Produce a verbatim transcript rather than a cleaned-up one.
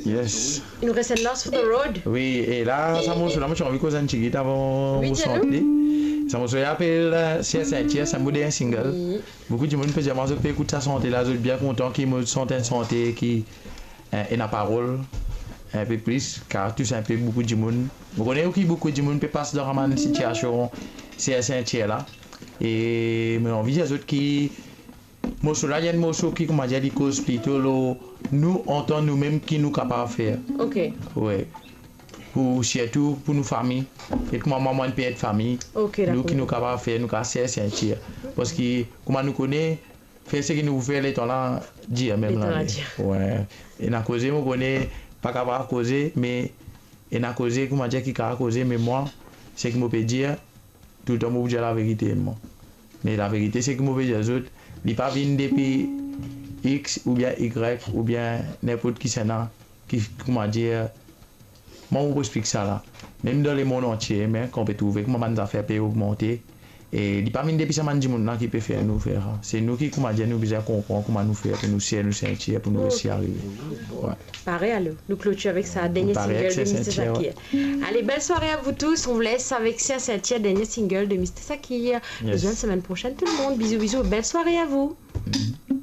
Yes. Il nous reste Lost for the Road. Wi, e la, sa morso la, mo ti anvi koz enn tigit avan mo sant li. Sa morso la apel, euh, Ser Sintir, sa mo dernye single. Boukou dimoun pe dir mwa zot pe ekout sa sante la, zot bien kontan ki mo sant enn sante ki, eh, ena parol, inpe plis, kar tous inpe boukou dimoun. Mo kone ki boukou dimoun pe pas dan sa bann sitiasion Ser Sintir la. E mo anvi dir zot ki morso la, li enn morso ki, koumadir, li koz plito lor nou, antan nou mem ki nou kapav fer. Ok. Wi. Pou, sirtou pou nou fami. E kouma mwa, mwa enn ped fami. Ok, Nou ki dakor. nou kapav fer, nou kapav ser sintir. Parski, kouma nou kone, fer seki nou pou fer, letan la dir mem Letan la la. dir. Wi. Ena koze, mo kone, pa kapav koze, me ena koze, koumadir, ki kapav koze, me mwa, seki mo pe dir, toultan mo pou dir laverite, mwa. Me laverite, seki mo pe dir zot, li pa vinn depi X oubien Y oubien ninport kisannla ki, koumadir, mwa, mo pou explik sa la. Mem dan lemond antie, me kan pe trouve kouma bann zafer pe ogmante, e li pa vinn depi sa bann dimoun la ki pe fer nou fer sa. Se nou ki, koumadir, nou bizin konpran kouma nou fer pou nou ser nou sintir, pou nou resi arive. Wi. Parey, alor, nou klotir avek sa, dernie Parey single avek de Ser Mister Sintir, Sakir. Allez, belle soirée à vous tous. On vous laisse avec Ser Sintir, dernier single de Mister Sakir. Nous Yes. retrouvons la semaine prochaine, tout le monde. Bisous, bisous. Belle soirée à vous.